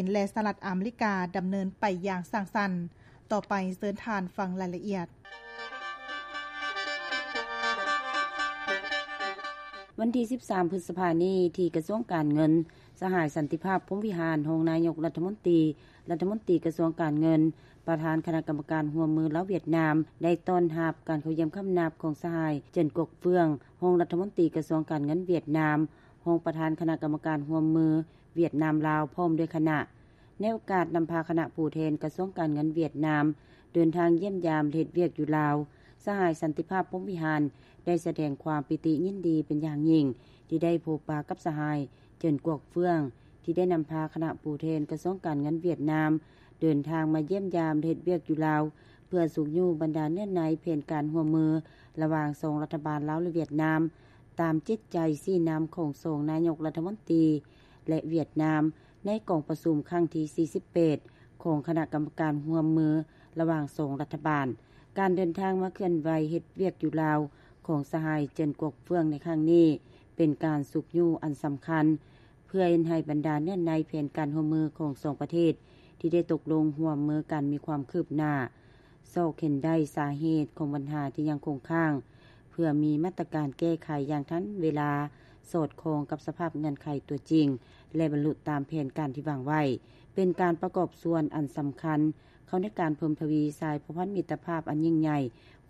ນ ແລະ ສະຫະລັດອາເມລິກາ ດຳເນີນໄປຢ່າງສ້າງສັນ. ຕໍ່ໄປເຊີນທ່ານຟັງລາຍລະອຽດ. ວັນທີສິບສາມ ພຶດສະພານີ້ ທີ່ກະຊວງການເງິນ, ສະຫາຍ ສັນຕິພາບ ພົມວິຫານ ຮອງນາຍົກລັດຖະມົນຕີ, ລັດຖະມົນຕີກະຊວງການເງິນ, ປະທານຄະນະກຳມະການຮ່ວມມືລາວ-ຫວຽດນາມ ໄດ້ຕ້ອນຮັບການເຂົ້າຢ້ຽມຄຳນັບຂອງສະຫາຍ ເຈີນ ກວກເຟືອງ ຮອງລັດຖະມົນຕີກະຊວງການເງິນຫວຽດນາມ, ຮອງປະທານຄະນະກຳມະການຮ່ວມມືຫວຽດນາມ-ລາວ ພ້ອມດ້ວຍຄະນະ. ໃນໂອກາດນຳພາຄະນະຜູ້ແທນກະຊວງການເງິນຫວຽດນາມ ເດີນທາງຢ້ຽມຢາມ ແລະ ເຮັດວຽກຢູ່ລາວ, ສະຫາຍ ສັນຕິພາບ ພົມວິຫານ ໄດ້ສະແດງຄວາມປີຕິຍິນດີເປັນຢ່າງຍິ່ງ ທີ່ໄດ້ພົບປະກັບສະຫາຍ ເຈີນ ກວກເຟືອງ ທີ່ໄດ້ນຳພາຄະນະຜູ້ແທນກະຊວງການເງິນຫວຽດນາມ ເດີນທາງມາຢ້ຽມຢາມ ແລະ ເຮັດວຽກຢູ່ລາວ ເພື່ອຊຸກຍູ້ບັນດາເນື້ອໃນແຜນການຮ່ວມມືລະຫວ່າງສອງລັດຖະບານລາວ ແລະ ຫວຽດນາມ ຕາມຈິດໃຈຊີ້ນຳຂອງສອງນາຍົກລັດຖະມົນຕີ ແລະ ຫວຽດນາມ ໃນກອງປະຊຸມຄັ້ງທີສີ່ສິບແປດ ຂອງຄະນະກຳມະການຮ່ວມມືລະຫວ່າງສອງລັດຖະບານ. ການເດີນທາງມາເຄື່ອນໄຫວເຮັດວຽກຢູ່ລາວຂອງສະຫາຍ ເຈີນ ກວກເຟືອງ ໃນຄັ້ງນີ້ ເປັນການຊຸກຍູ້ອັນສຳຄັນ ເພື່ອເຮັດໃຫ້ບັນດາເນື້ອໃນແຜນການຮ່ວມມືຂອງສອງປະເທດ ທີ່ໄດ້ຕົກລົງຮ່ວມມືກັນມີຄວາມຄືບໜ້າ, ຊອກເຫັນໄດ້ສາເຫດຂອງບັນຫາທີ່ຍັງຄົງຄ້າງ ເພື່ອມີມາດຕະການແກ້ໄຂຢ່າງທັນເວລາ, ສອດຄ່ອງກັບສະພາບເງື່ອນໄຂຕົວຈິງ ແລະ ບັນລຸຕາມແຜນການທີ່ວາງໄວ້, ເປັນການປະກອບສ່ວນອັນສຳຄັນເຂົ້າໃນການເພີ່ມທະວີສາຍພົວພັນມິດຕະພາບອັນຍິ່ງໃຫຍ່,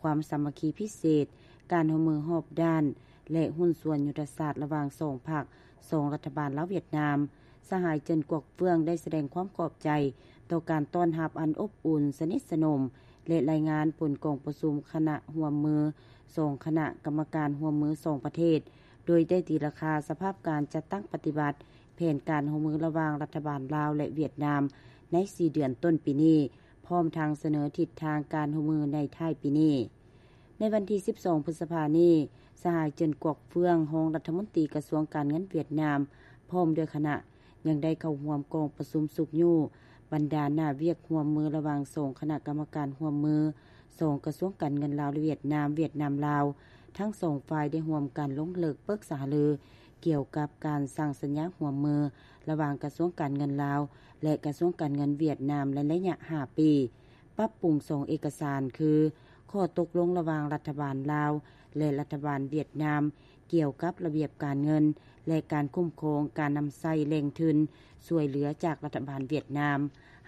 ຄວາມສາມັກຄີພິເສດ, ການຮ່ວມມືຮອບດ້ານ ແລະ ຫຸ້ນສ່ວນຍຸດທະສາດລະຫວ່າງສອງພັກ, ສອງລັດຖະບານລາວ-ຫວຽດນາມ. ສະຫາຍ ເຈີນ ກວກເຟືອງ ໄດ້ສະແດງຄວາມຂອບໃຈຕໍ່ການຕ້ອນຮັບອັນອົບອຸ່ນ, ສະໜິດສະໜົມ ແລະ ລາຍງານຜົນກອງປະຊຸມຄະນະຮ່ວມມືສອງຄະນະກຳມະການຮ່ວມມືສອງປະເທດ, ໂດຍໄດ້ຕີລາຄາສະພາບການຈັດຕັ້ງປະຕິບັດແຜນການຮ່ວມມືລະຫວ່າງລັດຖະບານລາວ ແລະ ຫວຽດນາມ ໃນສີ່ເດືອນຕົ້ນປີນີ້, ພ້ອມທັງສະເໜີທິດທາງການຮ່ວມມືໃນທ້າຍປີນີ້. ໃນວັນທີສິບສອງ ພຶດສະພານີ້, ສະຫາຍ ເຈີນ ກວກເຟືອງ ຮອງລັດຖະມົນຕີກະຊວງການເງິນຫວຽດນາມ ພ້ອມດ້ວຍຄະນະ ຍັງໄດ້ເຂົ້າຮ່ວມກອງປະຊຸມຊຸກຍູ້ບັນດາໜ້າວຽກຮ່ວມມືລະຫວ່າງສອງຄະນະກຳມະການຮ່ວມມື, ສອງກະຊວງການເງິນລາວ ແລະ ຫວຽດນາມ, ຫວຽດນາມ-ລາວ. ທັງສອງຝ່າຍໄດ້ຮ່ວມກັນລົງເລິກປຶກສາຫາລືກ່ຽວກັບການສ້າງສັນຍາຮ່ວມມືລະຫວ່າງກະຊວງການເງິນລາວ ແລະ ກະຊວງການເງິນຫວຽດນາມ ໃນໄລຍະຫ້າປີ. ປັບປຸງສອງເອກະສານ ຄື ຂໍ້ຕົກລົງລະຫວ່າງລັດຖະບານລາວ ແລະ ລັດຖະບານຫວຽດນາມ ກ່ຽວກັບລະບຽບການເງິນ ແລະ ການຄຸ້ມຄອງການນຳໃຊ້ແຫຼ່ງທຶນຊ່ວຍເຫຼືອຈາກລັດຖະບານຫວຽດນາມ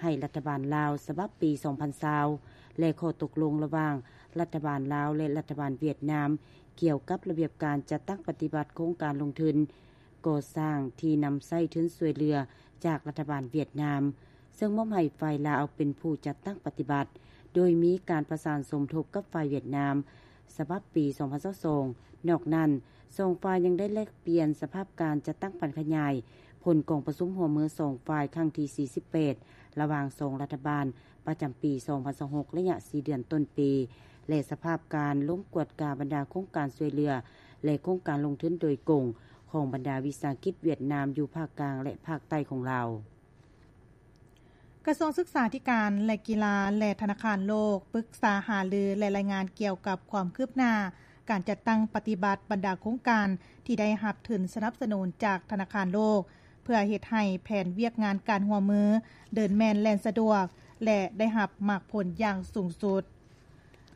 ໃຫ້ລັດຖະບານລາວ ສະບັບປີສອງພັນຊາວ ແລະ ຂໍ້ຕົກລົງລະຫວ່າງລັດຖະບານລາວ ແລະ ລັດຖະບານຫວຽດນາມ ກ່ຽວກັບລະບຽບການຈັດຕັ້ງປະຕິບັດໂຄງການລົງທຶນກໍ່ສ້າງທີ່ນຳໃຊ້ທຶນຊ່ວຍເຫຼືອຈາກລັດຖະບານຫວຽດນາມ. ເຊິ່ງມອບໃຫ້ຝ່າຍລາວເປັນຜູ້ຈັດຕັ້ງປະຕິບັດ, ໂດຍມີການປະສານສົມທົບກັບຝ່າຍຫວຽດນາມ ສະບັບປີສອງພັນຊາວສອງ. ນອກນັ້ນ, ສອງຝ່າຍຍັງໄດ້ແລກປ່ຽນສະພາບການຈັດຕັ້ງຜັນຂະຫຍາຍຜົນກອງປະຊຸມຮ່ວມມືສອງຝ່າຍຄັ້ງທີສີ່ສິບແປດ ລະຫວ່າງສອງລັດຖະບານ ປະຈຳປີສອງພັນຊາວຫົກ ໄລຍະສີ່ເດືອນຕົ້ນປີ ແລະ ສະພາບການລົງກວດກາບັນດາໂຄງການຊ່ວຍເຫຼືອ ແລະ ໂຄງການລົງທຶນໂດຍກົງຂອງບັນດາວິສາຫະກິດຫວຽດນາມຢູ່ພາກກາງ ແລະ ພາກໃຕ້ຂອງລາວ. ກະຊວງສຶກສາທິການ ແລະ ກິລາ ແລະ ທະນາຄານໂລກ ປຶກສາຫາລື ແລະ ລາຍງານກ່ຽວກັບຄວາມຄືບໜ້າການຈັດຕັ້ງປະຕິບັດບັນດາໂຄງການທີ່ໄດ້ຮັບທຶນສະໜັບສະໜູນຈາກທະນາຄານໂລກ ເພື່ອເຮັດໃຫ້ແຜນວຽກງານການຮ່ວມມືເດີນແມ່ນແລ່ນສະດວກ ແລະ ໄດ້ຮັບໝາກຜົນຢ່າງສູງສຸດ.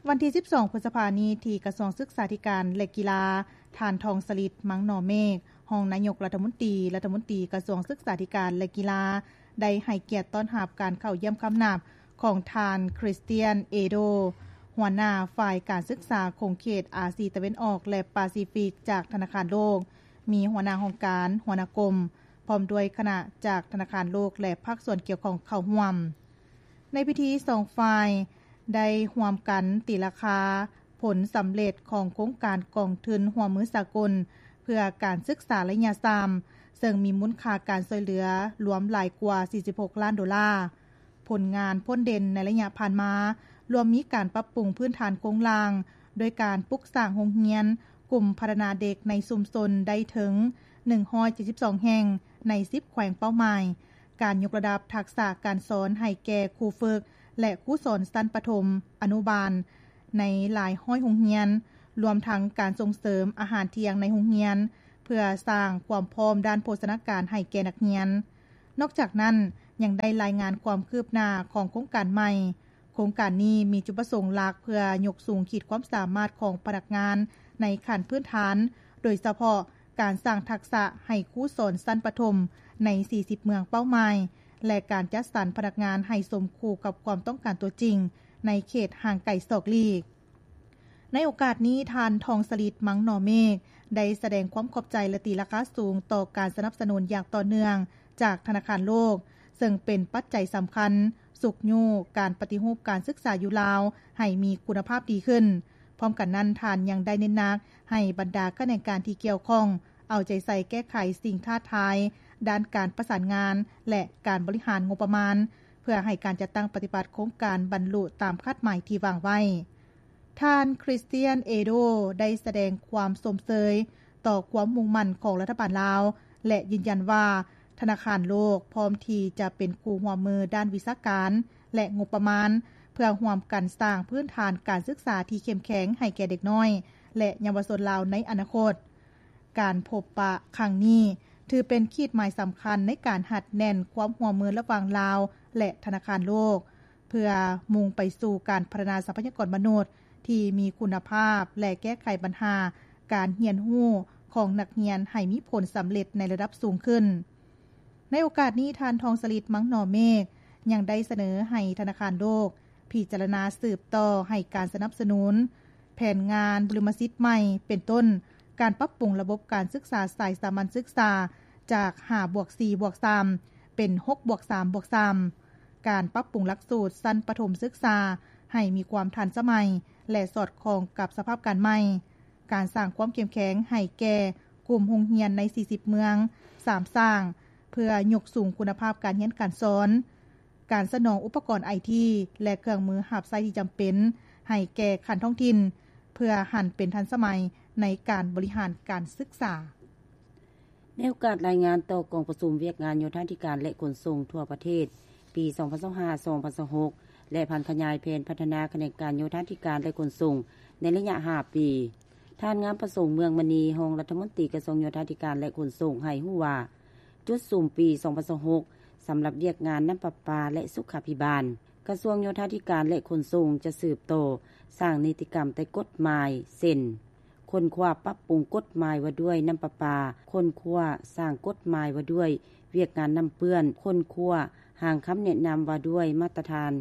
ວັນທີສິບສອງ ພຶດສະພານີ້ ທີ່ກະຊວງສຶກສາທິການ ແລະ ກິລາ, ທ່ານ ທອງສະລິດ ມັງໜໍເມກ, ຮອງນາຍົກລັດຖະມົນຕີ, ລັດຖະມົນຕີກະຊວງສຶກສາທິການ ແລະ ກິລາ ໄດ້ໃຫ້ກຽດຕ້ອນຮັບການເຂົ້າຢ້ຽມຄຳນັບຂອງທ່ານ ຄຣິສຕຽນ ເອໂດ, ຫົວໜ້າຝ່າຍການສຶກສາຂົງເຂດອາຊີຕາເວັນອອກ ແລະ ປາຊີຟິກ ຈາກທະນາຄານໂລກ, ມີຫົວໜ້າຫ້ອງການ, ຫົວໜ້າກົມ, ພ້ອມດ້ວຍຄະນະຈາກທະນາຄານໂລກ ແລະ ພາກສ່ວນກ່ຽວຂ້ອງເຂົ້າຮ່ວມ. ໃນພິທີ, ສອງຝ່າຍໄດ້ຮ່ວມກັນຕີລາຄາຜົນສຳເລັດຂອງໂຄງການກອງທຶນຮ່ວມມືສາກົນເພື່ອການສຶກສາໄລຍະສາມ, ເຊິ່ງມີມູນຄ່າການຊ່ວຍເຫຼືອລວມຫຼາຍກວ່າສີ່ສິບຫົກລ້ານໂດລາ. ຜົນງານພົ້ນເດັ່ນໃນໄລຍະຜ່ານມາ ລວມມີການປັບປຸງພື້ນຖານໂຄງລ່າງ ໂດຍການປຸກສ້າງໂຮງຮຽນກຸ່ມພັດທະນາເດັກໃນຊຸມຊົນໄດ້ເຖິງໜຶ່ງຮ້ອຍເຈັດສິບສອງແຫ່ງໃນສິບແຂວງເປົ້າໝາຍ, ການຍົກລະດັບທັກສະການສອນໃຫ້ແກ່ຄູຝຶກ ແລະ ຄູສອນຊັ້ນປະຖົມ, ອະນຸບານໃນຫຼາຍຮ້ອຍໂຮງຮຽນ, ລວມທັງການສົ່ງເສີມອາຫານທ່ຽງໃນໂຮງຮຽນ ເພື່ອສ້າງຄວາມພ້ອມດ້ານໂພຊະນາການໃຫ້ແກ່ນັກຮຽນ. ນອກຈາກນັ້ນ, ຍັງໄດ້ລາຍງານຄວາມຄືບໜ້າຂອງໂຄງການໃໝ່. ໂຄງການນີ້ມີຈຸດປະສົງຫຼັກເພື່ອຍົກສູງຂີດຄວາມສາມາດຂອງພະນັກງານໃນຂັ້ນພື້ນຖານ, ໂດຍສະເພາະການສ້າງທັກສະໃຫ້ຄູສອນຊັ້ນປະຖົມໃນສີ່ສິບເມືອງເປົ້າໝາຍ ແລະ ການຈັດສັນພະນັກງານໃຫ້ສົມຄູ່ກັບຄວາມຕ້ອງການຕົວຈິງໃນເຂດຫ່າງໄກສອກຫຼີກ. ໃນໂອກາດນີ້, ທ່ານ ທອງສະລິດ ມັງໜໍເມກ ໄດ້ສະແດງຄວາມຂອບໃຈ ແລະ ຕີລາຄາສູງຕໍ່ການສະໜັບສະໜູນຢ່າງຕໍ່ເນື່ອງຈາກທະນາຄານໂລກ, ເຊິ່ງເປັນປັດໄຈສຳຄັນຊຸກຍູ້ການປະຕິຮູບການສຶກສາຢູ່ລາວໃຫ້ມີຄຸນນະພາບດີຂຶ້ນ. ພ້ອມກັນນັ້ນ, ທ່ານຍັງໄດ້ເນັ້ນໜັກໃຫ້ບັນດາຂະແໜງການທີ່ກ່ຽວຂ້ອງ ເອົາໃຈໃສ່ແກ້ໄຂສິ່ງທ້າທາຍດ້ານການປະສານງານ ແລະ ການບໍລິຫານງົບປະມານ ເພື່ອໃຫ້ການຈັດຕັ້ງປະຕິບັດໂຄງການບັນລຸຕາມຄາດໝາຍທີ່ວາງໄວ້. ທ່ານ ຄຣິສຕຽນ ເອໂດ ໄດ້ສະແດງຄວາມຊົມເຊີຍຕໍ່ຄວາມມຸ່ງໝັ້ນຂອງລັດຖະບານລາວ ແລະ ຢືນຢັນວ່າ ທະນາຄານໂລກພ້ອມທີ່ຈະເປັນຄູ່ຮ່ວມມືດ້ານວິຊາການ ແລະ ງົບປະມານ ເພື່ອຮ່ວມກັນສ້າງພື້ນຖານການສຶກສາທີ່ເຂັ້ມແຂງໃຫ້ແກ່ເດັກນ້ອຍ ແລະ ເຍົາວະຊົນລາວໃນອະນາຄົດ. ການພົບປະຄັ້ງນີ້ ຖືເປັນຂີດໝາຍສຳຄັນໃນການຮັດແໜ້ນຄວາມຮ່ວມມືລະຫວ່າງລາວ ແລະ ທະນາຄານໂລກ ເພື່ອມຸ່ງໄປສູ່ການພັດທະນາຊັບພະຍາກອນມະນຸດທີ່ມີຄຸນນະພາບ ແລະ ແກ້ໄຂບັນຫາການຮຽນຮູ້ຂອງນັກຮຽນໃຫ້ມີຜົນສຳເລັດໃນລະດັບສູງຂຶ້ນ. ໃນໂອກາດນີ້, ທ່ານ ທອງສະລິດ ມັງໜໍເມກ ຍັງໄດ້ສະເໜີໃຫ້ທະນາຄານໂລກພິຈາລະນາສືບຕໍ່ໃຫ້ການສະໜັບສະໜູນແຜນງານບຸລິມະສິດໃໝ່ ເປັນຕົ້ນ ການປັບປຸງລະບົບການສຶກສາສາຍສາມັນສຶກສາຈາກຫ້າບວກສີ່ບວກສາມ ເປັນຫົກບວກສາມບວກສາມ, ການປັບປຸງຫຼັກສູດຊັ້ນປະຖົມສຶກສາໃຫ້ມີຄວາມທັນສະໄໝ ແລະ ສອດຄ່ອງກັບສະພາບການໃໝ່, ການສ້າງຄວາມເຂັ້ມແຂງໃຫ້ແກ່ກຸ່ມໂຮງຮຽນໃນສີ່ສິບເມືອງສາມສ້າງ ເພື່ອຍົກສູງຄຸນນະພາບການຮຽນການສອນ, ການສະໜອງອຸປະກອນໄອທີ ແລະ ເຄື່ອງມືຮັບໃຊ້ທີ່ຈຳເປັນໃຫ້ແກ່ຂັ້ນທ້ອງຖິ່ນ ເພື່ອຫັນເປັນທັນສະໄໝໃນການບໍລິຫານການສຶກສາ. ໃນໂອກາດລາຍງານຕໍ່ກອງປະຊຸມວຽກງານໂຍທາທິການ ແລະ ຂົນສົ່ງທົ່ວປະເທດ ປີສອງພັນຊາວຫ້າ ສອງພັນຊາວຫົກ ແລະ ຜັນຂະຫຍາຍແຜນພັດທະນາຂະແໜງການໂຍທາທິການ ແລະ ຂົນສົ່ງໃນໄລຍະຫ້າປີ, ທ່ານ ງາມປະສົງ ເມືອງມະນີ ຮອງລັດຖະມົນຕີກະຊວງໂຍທາທິການ ແລະ ຂົນສົ່ງ ໃຫ້ຮູ້ວ່າ ຈຸດສຸມປີສອງພັນຊາວຫົກ ສຳລັບວຽກງານນ້ຳປະປາ ແລະ ສຸຂາພິບານ, ກະຊວງໂຍທາທິການ ແລະ ຂົນສົ່ງ ຈະສືບຕໍ່ສ້າງນິຕິກຳໃຕ້ກົດໝາຍ ເຊັ່ນ ຄົ້ນຄວ້າປັບປຸງກົດໝາຍວ່າດ້ວຍນ້ຳປະປາ, ຄົ້ນຄວ້າສ້າງກົດໝາຍວ່າດ້ວຍວຽກງານນ້ຳເປື້ອນ, ຄົ້ນຄວ້າຮ່າງຄຳແນະນຳວ່າດ້ວຍມາດຕະຖານ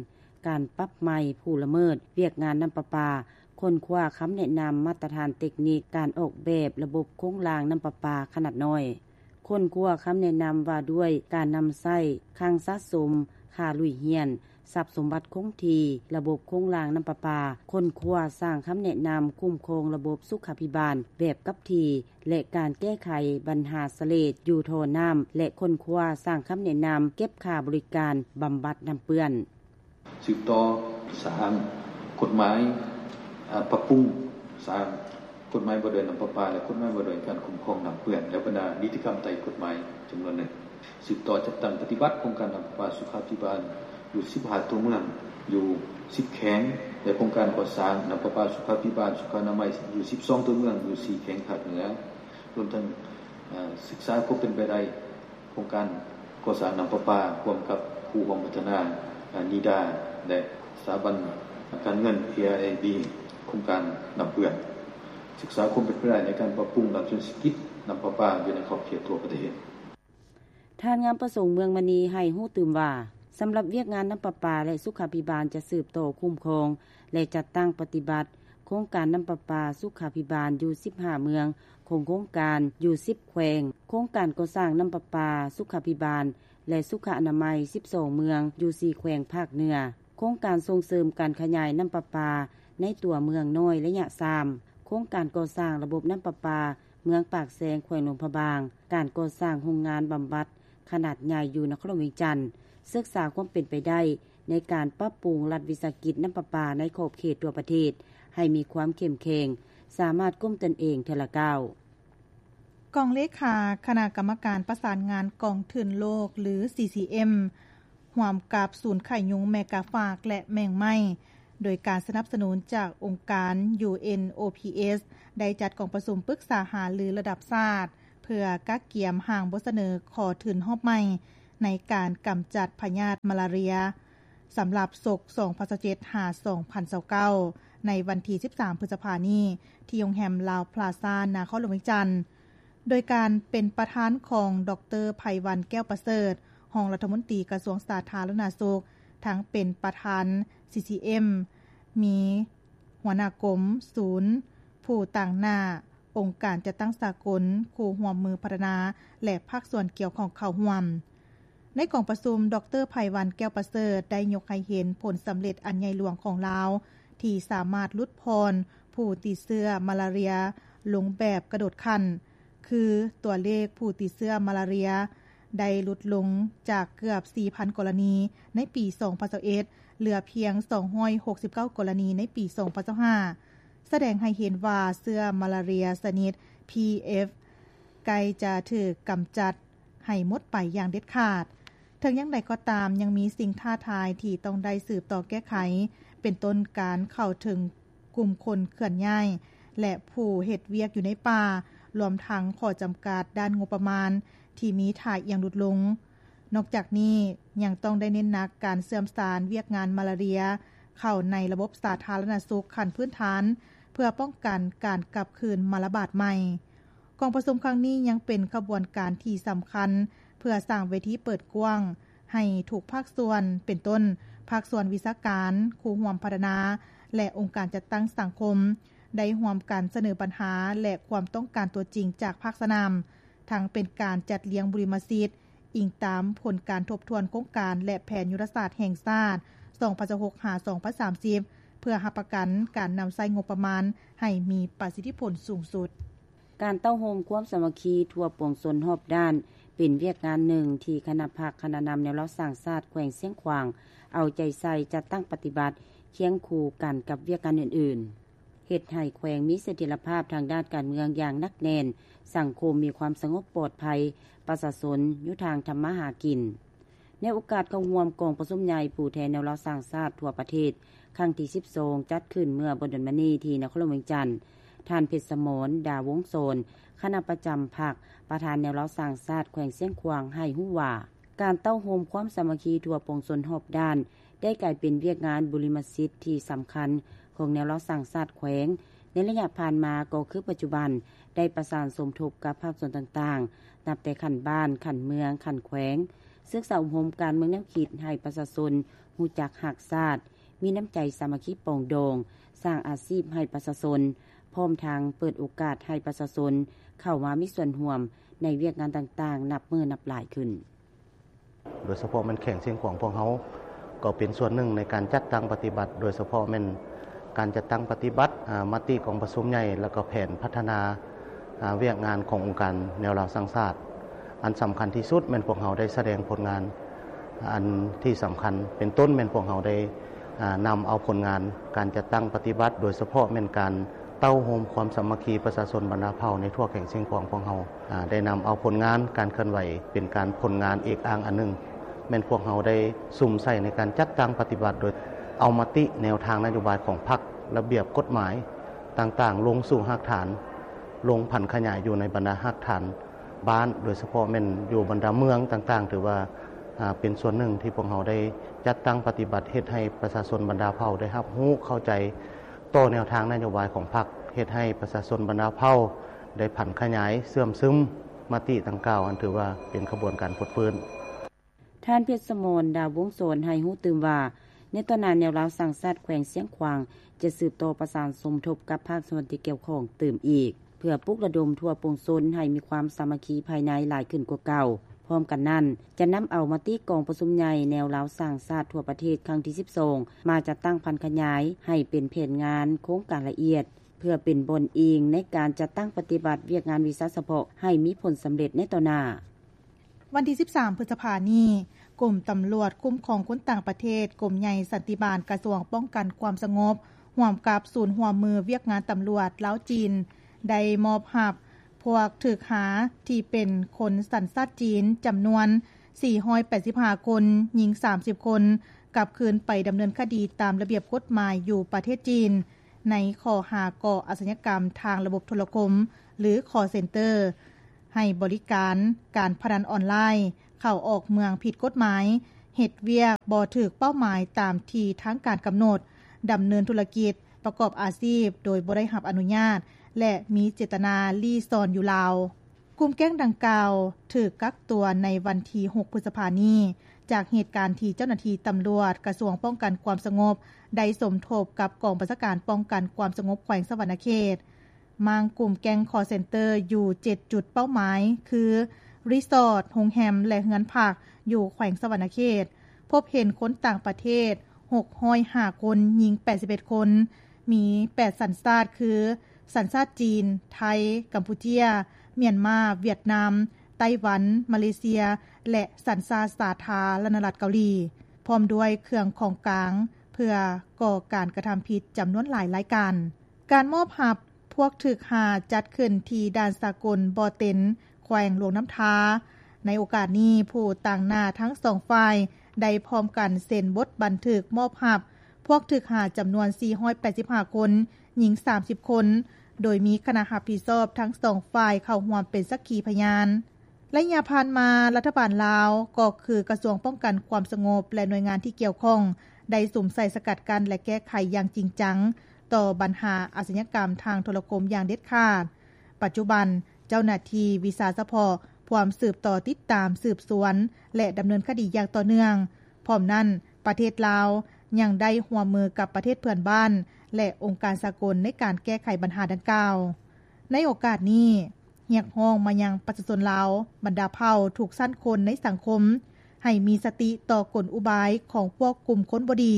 ການປັບໃໝຜູ້ລະເມີດວຽກງານນ້ຳປະປາ, ຄົ້ນຄວ້າຄຳແນະນຳມາດຕະຖານເຕັກນິກການອອກແບບລະບົບໂຄງລ່າງນ້ຳປະປາຂະໜາດນ້ອຍ, ຄົ້ນຄວ້າຄຳແນະນຳວ່າດ້ວຍການນຳໃຊ້ຄັງສະສົມ, ຄ່າລຸຍຮຽນ, ຊັບສົມບັດຄົງທີ່, ລະບົບໂຄງລ່າງນ້ຳປະປາ, ຄົ້ນຄວ້າສ້າງຄຳແນະນຳຄຸ້ມຄອງລະບົບສຸຂາພິບານແບບກັບທີ່ ແລະ ການແກ້ໄຂບັນຫາສະເລດຢູ່ທໍ່ນ້ຳ ແລະ ຄົ້ນຄວ້າສ້າງຄຳແນະນຳເກັບຄ່າບໍລິການບຳບັດນ້ຳເປື້ອນ. ສືບຕໍ່ສ້າງກົດໝາຍ, ອາ, ປັບປຸງສ້າງກົດໝາຍວ່າດ້ວຍນ້ຳປະປາ ແລະ ກົດໝາຍວ່າດ້ວຍການຄຸ້ມຄອງນ້ຳເປື້ອນ ແລະ ບັນດານິຕິກຳໃຕ້ກົດໝາຍຈຳນວນໜຶ່ງ. ສືບຕໍ່ຈັດຕັ້ງປະຕິບັດໂຄງການນ້ຳປະປາສຸຂາພິບານຢູ່ສິບຫ້າຕົວເມືອງ ຢູ່ສິບແຂວງ ແລະ ໂຄງການກໍ່ສ້າງນ້ຳປະປາສຸຂາພິບານສຸຂະອະນາໄມຢູ່ສິບສອງຕົວເມືອງ ຢູ່ສີ່ແຂວງພາກເໜືອ ລວມທັງ, ອາ, ສຶກສາຄວາມເປັນໄປໄດ້ ໂຄງການກໍ່ສ້າງນ້ຳປະປາຮ່ວມກັບຄູ່ຮ່ວມພັດທະນາ, ອາ, ນີດາ ແລະ ສະຖາບັນການເງິນ ເອ ໄອ ບີ ໂຄງການນ້ຳເປື້ອນ, ສຶກສາຄວາມເປັນໄປໄດ້ໃນການປັບປຸງດ້ານເສດຖະກິດນ້ຳປະປາຢູ່ໃນຂອບເຂດທົ່ວປະເທດ. ທ່ານ ງາມປະສົງ ເມືອງມະນີ ໃຫ້ຮູ້ຕື່ມວ່າ, ສຳລັບວຽກງານນ້ຳປະປາ ແລະ ສຸຂາພິບານ ຈະສືບຕໍ່ຄຸ້ມຄອງ ແລະ ຈັດຕັ້ງປະຕິບັດໂຄງການນ້ຳປະປາສຸຂາພິບານຢູ່ສິບຫ້າເມືອງຂອງໂຄງການຢູ່ສິບແຂວງ, ໂຄງການກໍ່ສ້າງນ້ຳປະປາສຸຂາພິບານ ແລະ ສຸຂະອະນາໄມສິບສອງເມືອງຢູ່ສີ່ແຂວງພາກເໜືອ, ໂຄງການສົ່ງເສີມການຂະຫຍາຍນ້ຳປະປາໃນຕົວເມືອງນ້ອຍໄລຍະສາມ, ໂຄງການກໍ່ສ້າງລະບົບນ້ຳປະປາ ເມືອງປາກແຊງ ແຂວງຫຼວງພະບາງ, ການກໍ່ສ້າງໂຮງງານບຳບັດຂະໜາດໃຫຍ່ຢູ່ນະຄອນຫຼວງວຽງຈັນ, ສຶກສາຄວາມເປັນໄປໄດ້ໃນການປັບປຸງລັດວິສາຫະກິດນ້ຳປະປາໃນຂອບເຂດທົ່ວປະເທດໃຫ້ມີຄວາມເຂັ້ມແຂງ, ສາມາດກຸ້ມຕົນເອງເທື່ອລະກ້າວ. ກອງເລຂາຄະນະກຳມະການປະສານງານກອງທຶນໂລກ ຫຼື ຊີຊີເອັມ ຮ່ວມກັບສູນໄຂ້ຍຸງແມກາຟາກ ແລະ ແມງໄມ້ ໂດຍການສະໜັບສະໜູນຈາກອົງການ ຢູເອັນໂອພີເອສ ໄດ້ຈັດກອງປະຊຸມປຶກສາຫາລືລະດັບຊາດ ເພື່ອກະກຽມຮ່າງບົດສະເໜີຂໍທຶນຮອບໃໝ່ ໃນການກຳຈັດພະຍາດມາລາເຣຍ ສຳລັບສົກສອງພັນຊາວເຈັດ ຫາ ສອງພັນຊາວເກົ້າ ໃນວັນທີສິບສາມ ພຶດສະພານີ້ ທີ່ໂຮງແຮມລາວພລາຊາ ນະຄອນຫຼວງວຽງຈັນ ໂດຍການເປັນປະທານຂອງ ດອກເຕີ ໄພວັນ ແກ້ວປະເສີດ ຮອງລັດຖະມົນຕີກະຊວງສາທາລະນະສຸກ, ທັງເປັນປະທານ ຊີຊີເອັມ, ມີຫົວໜ້າກົມ, ສູນ, ຜູ້ຕາງໜ້າ, ອົງການຈັດຕັ້ງສາກົນ, ຄູ່ຮ່ວມມືພັດທະນາ ແລະ ພາກສ່ວນກ່ຽວຂ້ອງເຂົ້າຮ່ວມ. ໃນກອງປະຊຸມ, ດອກເຕີ ໄພວັນ ແກ້ວປະເສີດ ໄດ້ຍົກໃຫ້ເຫັນຜົນສຳເລັດອັນໃຫຍ່ຫຼວງຂອງລາວ ທີ່ສາມາດຫຼຸດຜ່ອນຜູ້ຕິດເຊື້ອມາລາເຣຍລົງແບບກະໂດດຂັ້ນ, ຄືຕົວເລກຜູ້ຕິດເຊື້ອມາລາເຣຍໄດ້ຫຼຸດລົງຈາກເກືອບສີ່ພັນກໍລະນີໃນປີສອງພັນຊາວເອັດ ເຫຼືອພຽງສອງຮ້ອຍຫົກສິບເກົ້າກໍລະນີໃນປີສອງພັນຊາວຫ້າ ສະແດງໃຫ້ເຫັນວ່າເຊື້ອມາລາເຣຍຊະນິດ ພີ ເອັຟ ໃກ້ຈະຖືກກຳຈັດໃຫ້ໝົດໄປຢ່າງເດັດຂາດ. ເຖິງຢ່າງໃດກໍຕາມ, ຍັງມີສິ່ງທ້າທາຍທີ່ຕ້ອງໄດ້ສືບຕໍ່ແກ້ໄຂ, ເປັນຕົ້ນການເຂົ້າເຖິງກຸ່ມຄົນເຄື່ອນຍ້າຍ ແລະ ຜູ້ເຮັດວຽກຢູ່ໃນປ່າ, ລວມທັງຂໍ້ຈຳກັດດ້ານງົບປະມານທີ່ມີທ່າອ່ຽງຫຼຸດລົງ. ນອກຈາກນີ້, ຍັງຕ້ອງໄດ້ເນັ້ນໜັກການເຊື່ອມສານວຽກງານມາລາເຣຍເຂົ້າໃນລະບົບສາທາລະນະສຸກຂັ້ນພື້ນຖານ ເພື່ອປ້ອງກັນການກັບຄືນມາລະບາດໃໝ່. ກອງປະຊຸມຄັ້ງນີ້ຍັງເປັນຂະບວນການທີ່ສຳຄັນ ເພື່ອສ້າງເວທີເປີດກວ້າງໃຫ້ທຸກພາກສ່ວນ, ເປັນຕົ້ນ ພາກສ່ວນວິຊາການ, ຄູ່ຮ່ວມພັດທະນາ ແລະ ອົງການຈັດຕັ້ງສັງຄົມ ໄດ້ຮ່ວມກັນສະເໜີບັນຫາ ແລະ ຄວາມຕ້ອງການຕົວຈິງຈາກພາກສະໜາມ, ທັງເປັນການຈັດລຽງບຸລິມະສິດ ອີງຕາມຜົນການທົບທວນໂຄງການ ແລະ ແຜນຍຸດທະສາດແຫ່ງຊາດ ສອງພັນຊາວຫົກ ຫາ ສອງພັນສາມສິບ ເພື່ອຮັບປະກັນການນຳໃຊ້ງົບປະມານໃຫ້ມີປະສິດທິຜົນສູງສຸດ. ການເຕົ້າໂຮມຄວາມສາມັກຄີທົ່ວປວງຊົນຮອບດ້ານ ເປັນວຽກງານໜຶ່ງທີ່ຄະນະພັກຄະນະນຳແນວລາວສ້າງຊາດແຂວງຊຽງຂວາງ ເອົາໃຈໃສ່ຈັດຕັ້ງປະຕິບັດ ຄຽງຄູ່ກັນກັບວຽກງານອື່ນໆ. ເຮັດໃຫ້ແຂວງມີສະຖຽນລະພາບທາງດ້ານການເມືອງຢ່າງໜັກແໜ້ນ, ສັງຄົມມີຄວາມສະຫງົບປອດໄພ, ປະຊາຊົນຢູ່ທາງທຳມາຫາກິນ. ໃນໂອກາດເຂົ້າຮ່ວມກອງປະຊຸມໃຫຍ່ຜູ້ແທນແນວລາວສ້າງຊາດທົ່ວປະເທດ ຄັ້ງທີສິບສອງ ຈັດຂຶ້ນເມື່ອບໍ່ດົນມານີ້ທີ່ນະຄອນຫຼວງວຽງຈັນ, ທ່ານ ເພັດສະໝອນ ດາວົງສອນ ຄະນະປະຈຳພັກ ປະທານແນວລາວສ້າງຊາດແຂວງຊຽງຂວາງ ໃຫ້ຮູ້ວ່າ ການເຕົ້າໂຮມຄວາມສາມັກຄີທົ່ວປວງຊົນຮອບດ້ານ ໄດ້ກາຍເປັນວຽກງານບຸລິມະສິດທີ່ສຳຄັນຂອງແນວລາວສ້າງຊາດແຂວງ ໃນໄລຍະຜ່ານມາກໍຄືປັດຈຸບັນ ໄດ້ປະສານສົມທົບກັບພາກສ່ວນຕ່າງໆ ນັບແຕ່ຂັ້ນບ້ານ, ຂັ້ນເມືອງ, ຂັ້ນແຂວງ, ສຶກສາອົບຮົມການເມືອງແນວຄິດໃຫ້ປະຊາຊົນຮູ້ຈັກຮັກຊາດ, ມີນ້ຳໃຈສາມັກຄີປອງດອງ, ສ້າງອາຊີບໃຫ້ປະຊາຊົນ, ພ້ອມທັງເປີດໂອກາດໃຫ້ປະຊາຊົນເຂົ້າມາມີສ່ວນຮ່ວມໃນວຽກງານຕ່າງໆ ນັບມື້ນັບຫຼາຍຂຶ້ນ. ໂດຍສະເພາະແມ່ນແຂວງຊຽງຂວາງພວກເຮົາ ກໍເປັນສ່ວນໜຶ່ງໃນການຈັດຕັ້ງປະຕິບັດ, ໂດຍສະເພາະແມ່ນການຈັດຕັ້ງປະຕິບັດ ອາ ມະຕິກອງປະຊຸມໃຫຍ່ ແລ້ວກໍແຜນພັດທະນາ ອາ ວຽກງານຂອງອົງການແນວລາວສ້າງຊາດ. ອັນສຳຄັນທີ່ສຸດແມ່ນພວກເຮົາໄດ້ສະແດງຜົນງານອັນທີ່ສຳຄັນ ເປັນຕົ້ນແມ່ນພວກເຮົາໄດ້ ອາ ນຳເອົາຜົນງານການຈັດຕັ້ງປະຕິບັດ, ໂດຍສະເພາະແມ່ນການ ເຕົ້າໂຮມຄວາມສາມັກຄີປະຊາຊົນບັນດາເຜົ່າໃນທົ່ວແຂວງຊຽງຂວາງຂອງເຮົາ ອາ ໄດ້ນຳເອົາຜົນງານການເຄື່ອນໄຫວ ເປັນການ ຜົນງານເອກອ້າງອັນໜຶ່ງ ແມ່ນພວກເຮົາໄດ້ສຸມໃສ່ໃນການຈັດຕັ້ງປະຕິບັດ ໂດຍເອົາມະຕິແນວທາງນະໂຍບາຍຂອງພັກ, ລະບຽບກົດໝາຍຕ່າງໆ ລົງສູ່ຮາກຖານ, ລົງຜັນຂະຫຍາຍຢູ່ໃນບັນດາຮາກຖານ ບ້ານ ໂດຍສະເພາະແມ່ນຢູ່ບັນດາເມືອງຕ່າງໆ ຖືວ່າ ອາ ເປັນສ່ວນໜຶ່ງທີ່ພວກເຮົາໄດ້ຈັດຕັ້ງປະຕິບັດ ເຮັດໃຫ້ປະຊາຊົນບັນດາເຜົ່າໄດ້ຮັບຮູ້ເຂົ້າໃຈຕໍ່ແນວທາງນະໂຍບາຍຂອງພັກ, ເຮັດໃຫ້ປະຊາຊົນບັນດາເຜົ່າໄດ້ຜັນຂະຫຍາຍເຊື່ອມຊຶມມະຕິດັ່ງກ່າວ ອັນຖືວ່າເປັນຂະບວນການຟົດຟື້ນ. ທ່ານ ເພັດສະໝອນ ດາວົງສອນ ໃຫ້ຮູ້ຕື່ມວ່າ ໃນຕໍ່ໜ້າແນວລາວສ້າງຊາດແຂວງຊຽງຂວາງ ຈະສືບຕໍ່ປະສານສົມທົບກັບພາກສ່ວນທີ່ກ່ຽວຂ້ອງຕື່ມອີກ ເພື່ອປຸກລະດົມທົ່ວປວງຊົນໃຫ້ມີຄວາມສາມັກຄີພາຍໃນຫຼາຍຂຶ້ນກວ່າເກົ່າ. ພ້ອມກັນນັ້ນ, ຈະນຳເອົາມະຕິກອງປະຊຸມໃຫຍ່ແນວລາວສ້າງຊາດທົ່ວປະເທດຄັ້ງທີສິບສອງ ມາຈັດຕັ້ງຜັນຂະຫຍາຍໃຫ້ເປັນແຜນງານໂຄງການລະອຽດ ເພື່ອເປັນບ່ອນອີງໃນການຈັດຕັ້ງປະຕິບັດວຽກງານວິຊາສະເພາະໃຫ້ມີຜົນສຳເລັດໃນຕໍ່ໜ້າ. ວັນທີສິບສາມ ພຶດສະພານີ້, ກົມຕຳຫຼວດຄຸ້ມຄອງຄົນຕ່າງປະເທດ, ກົມໃຫຍ່ສັນຕິບານ, ກະຊວງປ້ອງກັນຄວາມສະຫງົບ ຮ່ວມກັບສູນຮ່ວມມືວຽກງານຕຳຫຼວດລາວ-ຈີນ ໄດ້ມອບຮັບພວກຖືກຫາທີ່ເປັນຄົນສັນຊາດຈີນ ຈຳນວນສີ່ຮ້ອຍແປດສິບຫ້າຄົນ, ຍິງສາມສິບຄົນ, ກັບຄືນໄປດຳເນີນຄະດີຕາມລະບຽບກົດໝາຍຢູ່ປະເທດຈີນ ໃນຂໍ້ຫາກໍ່ອາຊະຍາກຳທາງລະບົບໂທລະຄົມ ຫຼື ຄອລເຊັນເຕີ ໃຫ້ບໍລິການການພະນັນອອນລາຍ, ເຂົ້າ-ອອກເມືອງຜິດກົດໝາຍ, ເຮັດວຽກບໍ່ຖືກເປົ້າໝາຍຕາມທີ່ທາງການກຳນົດ, ດຳເນີນທຸລະກິດ, ປະກອບອາຊີບໂດຍບໍ່ໄດ້ຮັບອະນຸຍາດ ແລະ ມີເຈດຕະນາລີ້ຊ່ອນຢູ່ລາວ. ກຸ່ມແກ້ງດັ່ງກ່າວຖືກກັກຕົວໃນວັນທີຫົກ ພຶດສະພານີ້ ຈາກເຫດການທີ່ເຈົ້າໜ້າທີ່ຕຳຫຼວດກະຊວງປ້ອງກັນຄວາມສະຫງົບ ໄດ້ສົມທົບກັບກອງບັນຊາການປ້ອງກັນຄວາມສະຫງົບແຂວງສະຫວັນນະເຂດ ມ້າງກຸ່ມແກ້ງຄໍເຊັນເຕີຢູ່ເຈັດຈຸດເປົ້າໝາຍ ຄື ຣີສອດ, ໂຮງແຮມ ແລະ ເຮືອນພັກຢູ່ແຂວງສະຫວັນນະເຂດ, ພົບເຫັນຄົນຕ່າງປະເທດຫົກຮ້ອຍຫ້າຄົນ, ຍິງແປດສິບເອັດຄົນ, ມີແປດສັນຊາດ ຄື ສັນຊາດຈີນ, ໄທ, ກຳປູເຈຍ, ມຽນມາ, ຫວຽດນາມ, ໄຕ້ຫວັນ, ມາເລເຊຍ ແລະ ສັນຊາດສາທາລະນະລັດເກົາຫຼີ, ພ້ອມດ້ວຍເຄື່ອງຂອງກາງເພື່ອກໍ່ການກະທຳຜິດຈຳນວນຫຼາຍລາຍການ. ການມອບຮັບພວກຖືກຫາຈັດຂຶ້ນທີ່ດ່ານສາກົນບໍ່ເຕັນ ແຂວງຫຼວງນ້ຳທາ. ໃນໂອກາດນີ້, ຜູ້ຕາງໜ້າທັງສອງຝ່າຍໄດ້ພ້ອມກັນເຊັນບົດບັນທຶກມອບຮັບພວກຖືກຫາຈຳນວນສີ່ຮ້ອຍແປດສິບຫ້າຄົນ, ຍິງສາມສິບຄົນ, ໂດຍມີຄະນະຮັບຜິດຊອບທັງສອງຝ່າຍເຂົ້າຮ່ວມເປັນສັກຂີພະຍານ. ໄລຍະຜ່ານມາ, ລັດຖະບານລາວ ກໍຄືກະຊວງປ້ອງກັນຄວາມສະຫງົບ ແລະ ໜ່ວຍງານທີ່ກ່ຽວຂ້ອງ ໄດ້ສຸມໃສ່ສະກັດກັ້ນ ແລະ ແກ້ໄຂຢ່າງຈິງຈັງຕໍ່ບັນຫາອາຊະຍາກຳທາງໂທລະຄົມຢ່າງເດັດຂາດ. ປັດຈຸບັນ, ເຈົ້າໜ້າທີ່ວິຊາສະເພາະພວມສືບຕໍ່ຕິດຕາມ, ສືບສວນ ແລະ ດຳເນີນຄະດີຢ່າງຕໍ່ເນື່ອງ. ພ້ອມນັ້ນ, ປະເທດລາວຍັງໄດ້ຮ່ວມມືກັບປະເທດເພື່ອນບ້ານ ແລະ ອົງການສາກົນໃນການແກ້ໄຂບັນຫາດັ່ງກ່າວ. ໃນໂອກາດນີ້, ຮຽກຮ້ອງມາຍັງປະຊາຊົນລາວ ບັນດາເຜົ່າທຸກຊັ້ນຄົນໃນສັງຄົມ ໃຫ້ມີສະຕິຕໍ່ກົນອຸບາຍຂອງພວກກຸ່ມຄົນບໍ່ດີ,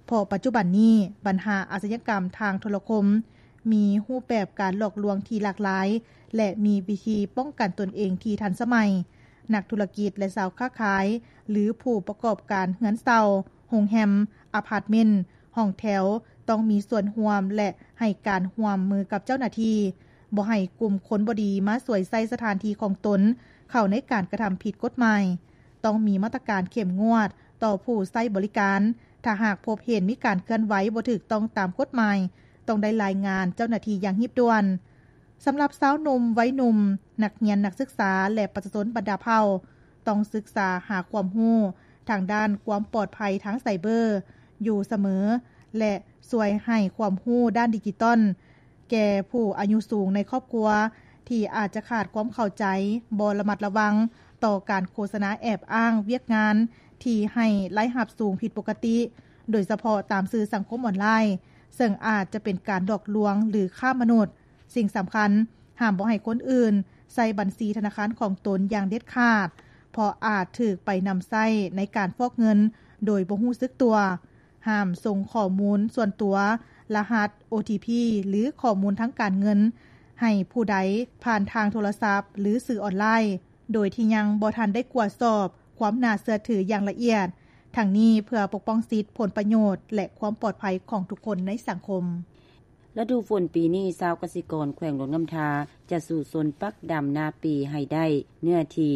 ເພາະປັດຈຸບັນນີ້ບັນຫາອາຊະຍາກຳທາງໂທລະຄົມມີຮູບແບບການຫຼອກລວງທີ່ຫຼາກຫຼາຍ ແລະ ມີວິທີປ້ອງກັນຕົນເອງທີ່ທັນສະໄໝ. ນັກທຸລະກິດ ແລະ ຊາວຄ້າຂາຍ ຫຼື ຜູ້ປະກອບການເຮືອນເຊົ່າ, ໂຮງແຮມ, ອາພາດເມັນ, ຫ້ອງແຖວ ຕ້ອງມີສ່ວນຮ່ວມ ແລະ ໃຫ້ການຮ່ວມມືກັບເຈົ້າໜ້າທີ່, ບໍ່ໃຫ້ກຸ່ມຄົນບໍ່ດີມາສວຍໃຊ້ສະຖານທີ່ຂອງຕົນເຂົ້າໃນການກະທຳຜິດກົດໝາຍ. ຕ້ອງມີມາດຕະການເຂັ້ມງວດຕໍ່ຜູ້ໃຊ້ບໍລິການ, ຖ້າຫາກພົບເຫັນມີການເຄື່ອນໄຫວບໍ່ຖືກຕ້ອງຕາມກົດໝາຍ, ຕ້ອງໄດ້ລາຍງານເຈົ້າໜ້າທີ່ຢ່າງຮີບດ່ວນ. ສຳລັບຊາວໜຸ່ມ, ໄວໜຸ່ມ, ນັກຮຽນ, ນັກສຶກສາ ແລະ ປະຊາຊົນບັນດາເຜົ່າ ຕ້ອງສຶກສາຫາຄວາມຮູ້ທາງດ້ານຄວາມປອດໄພທາງໄຊເບີຢູ່ສະເໝີ ແລະ ຊ່ວຍໃຫ້ຄວາມຮູ້ດ້ານດິຈິຕອນແກ່ຜູ້ອາຍຸສູງໃນຄອບຄົວ ທີ່ອາດຈະຂາດຄວາມເຂົ້າໃຈ, ບໍ່ລະມັດລະວັງຕໍ່ການໂຄສະນາແອບອ້າງວຽກງານທີ່ໃຫ້ລາຍຮັບສູງຜິດປົກກະຕິ, ໂດຍສະເພາະຕາມສື່ສັງຄົມອອນລາຍ, ເຊິ່ງອາດຈະເປັນການຫຼອກລວງ ຫຼື ຄ້າມະນຸດ. ສິ່ງສຳຄັນ, ຫ້າມບໍ່ໃຫ້ຄົນອື່ນໃຊ້ບັນຊີທະນາຄານຂອງຕົນຢ່າງເດັດຂາດ, ເພາະອາດຖືກໄປນຳໃຊ້ໃນການຟອກເງິນໂດຍບໍ່ຮູ້ສຶກຕົວ. ຫ້າມສົ່ງຂໍ້ມູນສ່ວນຕົວ, ລະຫັດ ໂອທີພີ ຫຼື ຂໍ້ມູນທາງການເງິນໃຫ້ຜູ້ໃດຜ່ານທາງໂທລະສັບ ຫຼື ສື່ອອນລາຍ ໂດຍທີ່ຍັງບໍ່ທັນໄດ້ກວດສອບຄວາມໜ້າເຊື່ອຖືຢ່າງລະອຽດ, ທັງນີ້ເພື່ອປົກປ້ອງສິດ, ຜົນປະໂຫຍດ ແລະ ຄວາມປອດໄພຂອງທຸກຄົນໃນສັງຄົມ. ລະດູຝົນປີນີ້, ຊາວກະສິກອນແຂວງຫຼວງນ້ຳທາ ຈະສູ້ຊົນປັກດຳນາປີໃຫ້ໄດ້ເນື້ອທີ່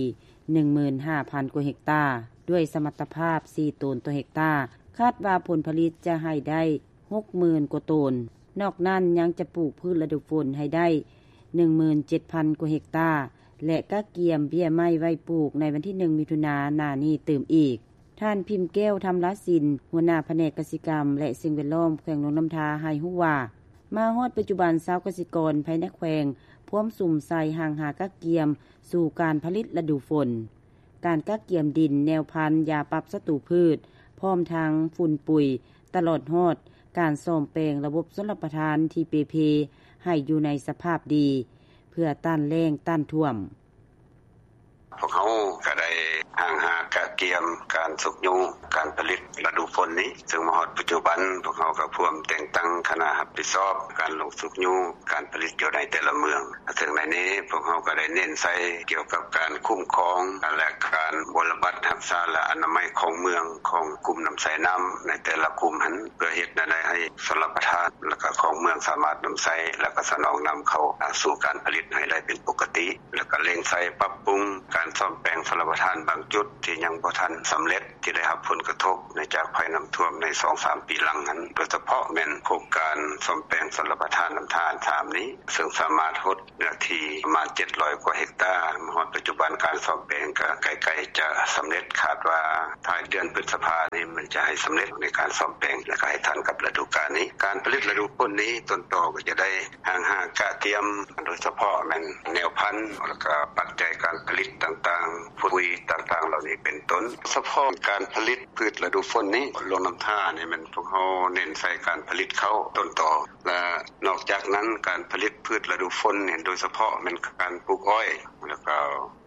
ໜຶ່ງໝື່ນຫ້າພັນກວ່າເຮັກຕາ, ດ້ວຍສະມັດຕະພາບສີ່ໂຕນຕໍ່ເຮັກຕາ. ຄາດວ່າຜົນຜະລິດຈະໃຫ້ໄດ້ຫົກໝື່ນກວ່າໂຕນ. ນອກນັ້ນຍັງຈະປູກພືດລະດູຝົນໃຫ້ໄດ້ໜຶ່ງໝື່ນເຈັດພັນກວ່າເຮັກຕາ ແລະ ກະກຽມເບ້ຍໄມ້ໄວ້ປູກໃນວັນທີໜຶ່ງ ມິຖຸນາ ໜ້ານີ້ຕື່ມອີກ. ທ່ານ ພິມແກ້ວ ທຳລາສິນ ຫົວໜ້າພະແນກກະສິກຳ ແລະ ສິ່ງແວດລ້ອມ ແຂວງຫຼວງນ້ຳທາ ໃຫ້ຮູ້ວ່າ, ມາຮອດປັດຈຸບັນ ຊາວກະສິກອນພາຍໃນແຂວງພວມສຸມໃສ່ຫ້າງຫາກະກຽມສູ່ການຜະລິດລະດູຝົນ. ການກະກຽມດິນ, ແນວພັນ, ຢາປັບສັດຕູພືດ, ພ້ອມທັງຝຸ່ນປຸຍ, ຕະຫຼອດຮອດການສ້ອມແປງລະບົບຊົນລະປະທານທີ່ເປ່ເພໃຫ້ຢູ່ໃນສະພາບດີ ເພື່ອຕ້ານແລ້ງ, ຕ້ານຖ້ວມ. ພວກເຮົາກະໄດ້ຫ້າງຫາກະກຽມການຊຸກຍູ້ການຜະລິດລະດູຝົນນີ້, ເຊິ່ງມາຮອດປັດຈຸບັນ ພວກເຮົາກະພວມແຕ່ງຕັ້ງຄະນະຮັບຜິດຊອບການລົງຊຸກຍູ້ການຜະລິດຢູ່ໃນແຕ່ລະເມືອງ. ເຊິ່ງໃນນີ້ພວກເຮົາກະໄດ້ເນັ້ນໃສ່ກ່ຽວກັບການຄຸ້ມຄອງ ແລະ ການບົວລະບັດຮັກສາ ແລະ ອະນາໄມຂອງເມືອງ ຂອງກຸ່ມນຳໃຊ້ນ້ຳໃນແຕ່ລະກຸ່ມຫັ້ນ ເພື່ອເຮັດແນວໃດໃຫ້ຊົນລະປະທານ ແລະ ກະຂອງເມືອງສາມາດນຳໃຊ້ ແລະ ກະສະໜອງນ້ຳເຂົ້າສູ່ການຜະລິດໃຫ້ໄດ້ເປັນປົກກະຕິ. ແລ້ວກະເລັ່ງໃສ່ປັບປຸງການສ້ອມແປງຊົນລະປະທານບາງ ຈຸດທີ່ຍັງບໍ່ທັນສຳເລັດ ທີ່ໄດ້ຮັບຜົນກະທົບໃນຈາກໄພນ້ຳຖ້ວມໃນສອງສາມປີຫຼັງຫັ້ນ ໂດຍສະເພາະແມ່ນໂຄງການສ້ອມແປງຊົນລະປະທານນ້ຳທາສາມນີ້ ເຊິ່ງສາມາດຫົດເນື້ອທີ່ປະມານເຈັດຮ້ອຍກວ່າເຮັກຕາ ມາຮອດປັດຈຸບັນການສ້ອມແປງກໍໃກ້ໆຈະສຳເລັດ ຄາດວ່າທ້າຍເດືອນພຶດສະພານີ້ມັນຈະໃຫ້ສຳເລັດໃນການສ້ອມແປງ ແລະກໍໃຫ້ທັນກັບລະດູການນີ້. ການຜະລິດລະດູຝົນນີ້ ຕົ້ນຕໍກໍຈະໄດ້ ຫາງຫາກະກຽມ ໂດຍສະເພາະແມ່ນແນວພັນ ແລ້ວກະປັດໄຈການຜະລິດຕ່າງໆ ຝຸ່ນຕ່າງໆເຫຼົ່ານີ້ເປັນຕົ້ນ. ສະເພາະການຜະລິດພືດລະດູຝົນນີ້ ຫຼວງນ້ຳທານີ້ແມ່ນພວກເຮົາເນັ້ນໃສ່ການຜະລິດເຂົ້າຕົ້ນຕໍ ແລະນອກຈາກນັ້ນ ການຜະລິດພືດລະດູຝົນນີ້ ໂດຍສະເພາະແມ່ນການປູກອ້ອຍ ແລ້ວກະ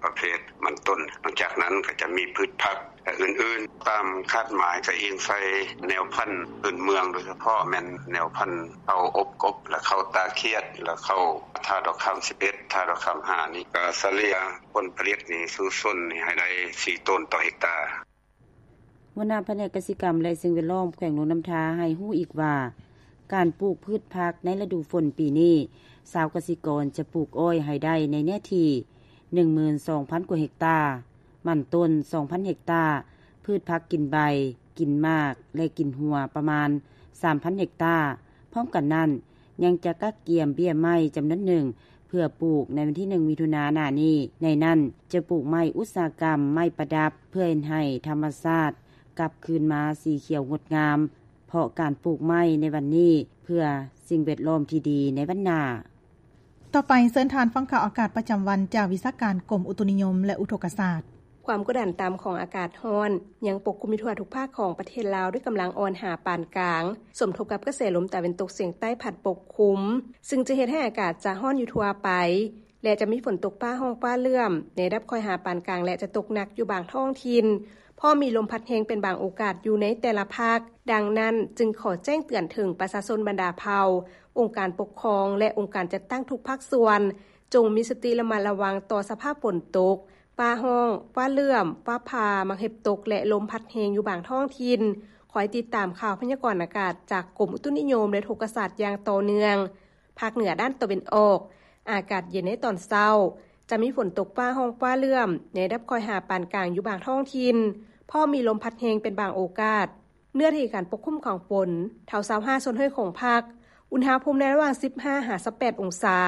ປະເພດມັນຕົ້ນ. ນອກຈາກນັ້ນກໍຈະມີພືດຜັກ ແລະ ອື່ນໆ ຕາມຄາດໝາຍກໍອີງໃສ່ແນວພັນພື້ນເມືອງ ໂດຍສະເພາະແມ່ນແນວພັນເຂົ້າອົບກົບ ແລະ ເຂົ້າຕາຂຽດ ແລະ ເຂົ້າທ່າດອກຄຳສິບເອັດ ທ່າດອກຄຳຫ້ານີ້ ກໍສະເລ່ຍຜົນຜະລິດນີ້ສູ່ຊົນນີ້ໃຫ້ໄດ້ສີ່ໂຕນຕໍ່ເຮັກຕາ. ຫົວໜ້າພະແນກກະສິກຳ ແລະ ສິ່ງແວດລ້ອມ ແຂວງຫຼວງນ້ຳທາ ໃຫ້ຮູ້ອີກວ່າ ການປູກພືດຜັກໃນລະດູຝົນປີນີ້ ຊາວກະສິກອນຈະປູກອ້ອຍໃຫ້ໄດ້ໃນເນື້ອທີ່ ໜຶ່ງໝື່ນສອງພັນກວ່າເຮັກຕາ, ມັນຕົ້ນ ສອງພັນເຮັກຕາ, ພືດຜັກກິນໃບ, ກິນໝາກ ແລະ ກິນຫົວປະມານ ສາມພັນເຮັກຕາ. ພ້ອມກັນນັ້ນ ຍັງຈະກະກຽມເບ້ຍໄມ້ຈຳນວນໜຶ່ງ ເພື່ອປູກໃນວັນທີໜຶ່ງ ມິຖຸນາໜ້ານີ້. ໃນນັ້ນຈະປູກໄມ້ອຸດສາຫະກຳ, ໄມ້ປະດັບ ເພື່ອເຮັດໃຫ້ທຳມະຊາດກັບຄືນມາສີຂຽວງົດງາມ ເພາະການປູກໄມ້ໃນວັນນີ້ ເພື່ອສິ່ງແວດລ້ອມທີ່ດີໃນວັນໜ້າ. ຕໍ່ໄປເຊີນທ່ານຟັງຂ່າວອາກາດປະຈຳວັນ ຈາກວິຊາການກົມອຸຕຸນິຍົມ ແລະ ອຸທົກກະສາດ. ຄວາມກົດດັນຕ່ຳຂອງອາກາດຮ້ອນ ຍັງປົກຄຸມຢູ່ທົ່ວທຸກພາກຂອງປະເທດລາວ ດ້ວຍກຳລັງອ່ອນຫາປານກາງ, ສົມທົບກັບກະແສລົມຕາເວັນຕົກສຽງໃຕ້ພັດປົກຄຸມ, ຊຶ່ງຈະເຮັດໃຫ້ອາກາດຈະຮ້ອນຢູ່ທົ່ວໄປ ແລະ ຈະມີຝົນຕົກຟ້າຮ້ອງຟ້າເຫຼື້ອມໃນລະດັບຄ່ອຍຫາປານກາງ ແລະ ຈະຕົກໜັກຢູ່ບາງທ້ອງຖິ່ນ, ພ້ອມມີລົມພັດແຮງເປັນບາງໂອກາດຢູ່ໃນແຕ່ລະພາກ. ດັ່ງນັ້ນ, ຈຶ່ງຂໍແຈ້ງເຕືອນເຖິງປະຊາຊົນບັນດາເຜົ່າ, ອົງການປົກຄອງ ແລະ ອົງການຈັດຕັ້ງທຸກພາກສ່ວນ, ຈົ່ງມີສະຕິລະມັດລະວັງຕໍ່ສະພາບຝົນຕົກ, ຟ້າຮ້ອງ, ຟ້າເຫຼື້ອມ, ຟ້າຜ່າ, ໝາກເຫັບຕົກ ແລະ ລົມພັດແຮງຢູ່ບາງທ້ອງຖິ່ນ. ຄອຍຕິດຕາມຂ່າວພະຍາກອນອາກາດຈາກກົມອຸຕຸນິຍົມ ແລະ ອຸທົກກະສາດຢ່າງຕໍ່ເນື່ອງ. ພາກເໜືອດ້ານຕາເວັນອອກ, ອາກາດເຢັນໃນຕອນເຊົ້າ, ຈະມີຝົນຕົກຟ້າຮ້ອງຟ້າເຫຼື້ອມໃນລະດັບຄ່ອຍຫາປານກາງຢູ່ບາງທ້ອງຖິ່ນ, ພ້ອມມີລົມພັດແຮງເປັນບາງໂອກາດ. ເນື້ອທີ່ການປົກຄຸມຂອງຝົນ ເທົ່າຊາວຫ້າສ່ວນຮ້ອຍຂອງພາກ, ອຸນຫະພູມໃນລະຫວ່າງສິບຫ້າຫາຊາວແປດອົງສາ.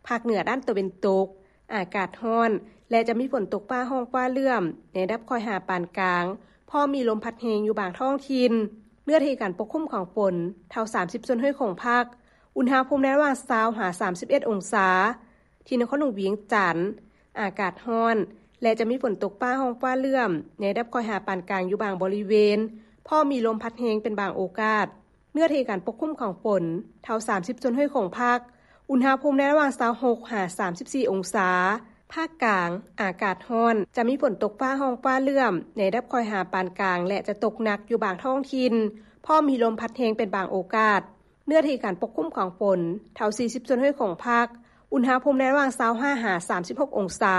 ພາກເໜືອດ້ານຕາເວັນຕົກ, ອາກາດຮ້ອນ ແລະ ຈະມີຝົນຕົກຟ້າຮ້ອງຟ້າເຫຼື້ອມໃນລະດັບຄ່ອຍຫາປານກາງ, ພ້ອມມີລົມພັດແຮງຢູ່ບາງທ້ອງຖິ່ນ. ເນື້ອທີ່ການປົກຄຸມຂອງຝົນ ເທົ່າສາມສິບສ່ວນຮ້ອຍຂອງພາກ, ອຸນຫະພູມໃນລະຫວ່າງຊາວຫາສາມສິບເອັດອົງສາ. ທີ່ນະຄອນຫຼວງວຽງຈັນ, ອາກາດຮ້ອນ ແລະ ຈະມີຝົນຕົກຟ້າຮ້ອງຟ້າເຫຼື້ອມໃນລະດັບຄ່ອຍຫາປານກາງຢູ່ບາງບໍລິເວນ, ພ້ອມມີລົມພັດແຮງເປັນບາງໂອກາດ. ເນື້ອທີ່ການປົກຄຸມຂອງຝົນ ເທົ່າສາມສິບສ່ວນຮ້ອຍຂອງພາກ, ອຸນຫະພູມໃນລະຫວ່າງຊາວຫົກຫາສາມສິບສີ່ອົງສາ. ພາກກາງ, ອາກາດຮ້ອນ, ຈະມີຝົນຕົກຟ້າຮ້ອງຟ້າເຫຼື້ອມໃນລະດັບຄ່ອຍຫາປານກາງ ແລະ ຈະຕົກໜັກຢູ່ບາງທ້ອງຖິ່ນ, ພ້ອມມີລົມພັດແຮງເປັນບາງໂອກາດ. ເນື້ອທີ່ການປົກຄຸມຂອງຝົນ ເທົ່າສີ່ສິບສ່ວນຮ້ອຍຂອງພາກ, ອຸນຫະພູມໃນລະຫວ່າງຊາວຫ້າຫາສາມສິບຫົກອົງສາ.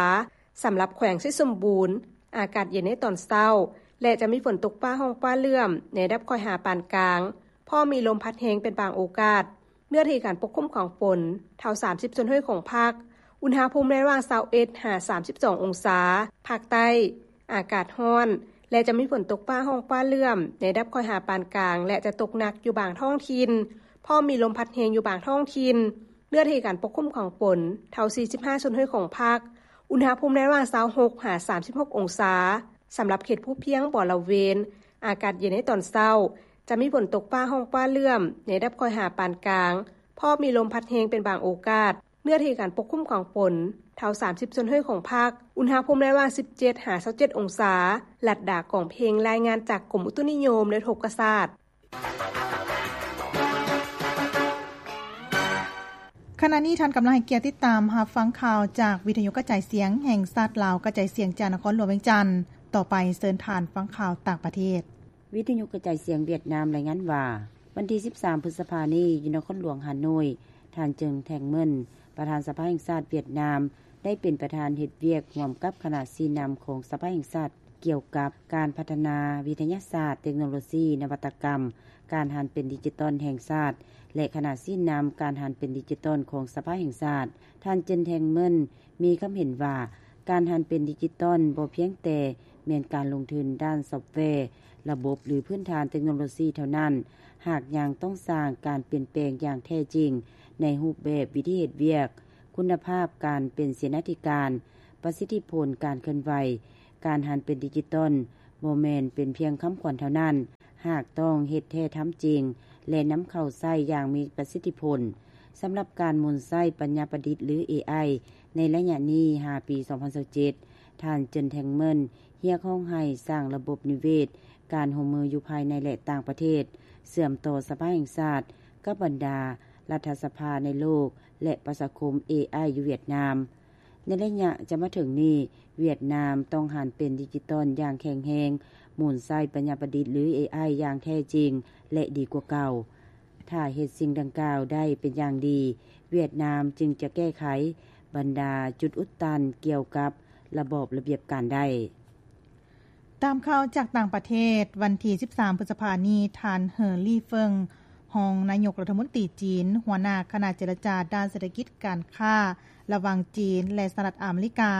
ສຳລັບແຂວງໄຊສົມບູນ, ອາກາດເຢັນໃນຕອນເຊົ້າ ແລະ ຈະມີຝົນຕົກຟ້າຮ້ອງຟ້າເຫຼື້ອມໃນລະດັບຄ່ອຍຫາປານກາງ, ພ້ອມມີລົມພັດແຮງເປັນບາງໂອກາດ. ເນື້ອທີ່ການປົກຄຸມຂອງຝົນ ເທົ່າສາມສິບສ່ວນຮ້ອຍຂອງພາກ, ອຸນຫະພູມໃນລະຫວ່າງຊາວເອັດຫາສາມສິບສອງອົງສາ. ພາກໃຕ້, ອາກາດຮ້ອນ ແລະ ຈະມີຝົນຕົກຟ້າຮ້ອງຟ້າເຫຼື້ອມໃນລະດັບຄ່ອຍຫາປານກາງ ແລະ ຈະຕົກໜັກຢູ່ບາງທ້ອງຖິ່ນ, ພ້ອມມີລົມພັດແຮງຢູ່ບາງທ້ອງຖິ່ນ. ເນື້ອທີ່ການປົກຄຸມຂອງຝົນ ເທົ່າສີ່ສິບຫ້າສ່ວນຮ້ອຍຂອງພາກ, ອຸນຫະພູມໃນລະຫວ່າງຊາວຫົກຫາສາມສິບຫົກອົງສາ. ສຳລັບເຂດພູພຽງບໍລະເວນ, ອາກາດເຢັນໃນຕອນເຊົ້າ, ຈະມີຝົນຕົກຟ້າຮ້ອງຟ້າເຫຼື້ອມໃນລະດັບຄ່ອຍຫາປານກາງ, ພ້ອມມີລົມພັດແຮງເປັນບາງໂອກາດ. ເນື້ອທີ່ການປົກຄຸມຂອງຝົນ ເທົ່າສາມສິບສ່ວນຮ້ອຍຂອງພາກ, ອຸນຫະພູມໃນລະຫວ່າງສິບເຈັດຫາຊາວເຈັດອົງສາ. ລັດດາ ກອງເພັງ, ລາຍງານຈາກກົມອຸຕຸນິຍົມ ແລະ ອຸທົກກະສາດ. ຂະນະນີ້ທ່ານກຳລັງໃຫ້ກຽດຕິດຕາມຮັບຟັງຂ່າວຈາກວິທະຍຸກະຈາຍສຽງແຫ່ງຊາດລາວ, ກະຈາຍສຽງຈາກນະຄອນຫຼວງວຽງຈັນ. ຕໍ່ໄປເຊີນທ່ານຟັງຂ່າວຕ່າງປະເທດ. ວິທະຍຸກະຈາຍສຽງຫວຽດນາມລາຍງານວ່າ, ວັນທີສິບສາມ ພຶດສະພານີ້, ຢູ່ນະຄອນຫຼວງຮ່າໂນ້ຍ, ທ່ານ Trần Thanh Mẫn, ປະທານສະພາແຫ່ງຊາດຫວຽດນາມ ໄດ້ເປັນປະທານເຮັດວຽກຮ່ວມກັບຄະນະຊີ້ນຳຂອງສະພາແຫ່ງຊາດ ກ່ຽວກັບການພັດທະນາວິທະຍາສາດ, ເຕັກໂນໂລຊີ, ນະວັດຕະກຳ, ການຫັນເປັນດິຈິຕອນແຫ່ງຊາດ ແລະ ຄະນະຊີ້ນຳການຫັນເປັນດິຈິຕອນຂອງສະພາແຫ່ງຊາດ. ທ່ານ Trần Thanh Mẫn ມີຄຳເຫັນວ່າ, ການຫັນເປັນດິຈິຕອນບໍ່ພຽງແຕ່ ແມ່ນການລົງທຶນດ້ານຊອບແວ, ລະບົບ ຫຼື ພື້ນຖານເຕັກໂນໂລຊີເທົ່ານັ້ນ, ຫາກຍັງຕ້ອງສ້າງການປ່ຽນແປງຢ່າງແທ້ຈິງໃນຮູບແບບວິທີເຮັດວຽກ, ຄຸນນະພາບການເປັນເສນາທິການ, ປະສິດທິຜົນການເຄື່ອນໄຫວ, ການຫັນເປັນດິຈິຕອນ ບໍ່ແມ່ນເປັນພຽງຄຳຂວັນເທົ່ານັ້ນ, ຫາກຕ້ອງເຮັດແທ້ທຳຈິງ ແລະ ນຳເຂົ້າໃຊ້ຢ່າງມີປະສິດທິຜົນ. ສຳລັບການໝູນໃຊ້ປັນຍາປະດິດ ຫຼື ເອໄອ ໃນໄລຍະນີ້ຫາປີສອງພັນຊາວເຈັດ, ທ່ານ John Tangman ຮຽກຮ້ອງໃຫ້ສ້າງລະບົບນິເວດການຮ່ວມມືຢູ່ພາຍໃນ ແລະ ຕ່າງປະເທດ, ເຊື່ອມຕໍ່ສະພາແຫ່ງຊາດກັບບັນດາລັດຖະສະພາໃນໂລກ ແລະ ປະຊາຄົມ ເອໄອ ຢູ່ຫວຽດນາມ. ໃນໄລຍະຈະມາເຖິງນີ້, ຫວຽດນາມຕ້ອງຫັນເປັນດິຈິຕອນຢ່າງແຂງແຮງ, ໝູນໃຊ້ປັນຍາປະດິດ ຫຼື ເອໄອ ຢ່າງແທ້ຈິງ ແລະ ດີກວ່າເກົ່າ. ຖ້າເຮັດສິ່ງດັ່ງກ່າວໄດ້ເປັນຢ່າງດີ, ຫວຽດນາມຈຶ່ງຈະແກ້ໄຂບັນດາຈຸດອຸດຕັນກ່ຽວກັບລະບອບລະບຽບການໄດ້. ຕາມຂ່າວຈາກຕ່າງປະເທດ, ວັນທີສິບສາມ ພຶດສະພານີ້, ທ່ານ ເຫີ ລີ່ເຟິງ ຮອງນາຍົກລັດຖະມົນຕີຈີນ, ຫົວໜ້າຄະນະເຈລະຈາດ້ານເສດຖະກິດ, ການຄ້າ ລະຫວ່າງຈີນ ແລະ ສະຫະລັດອາເມລິກາ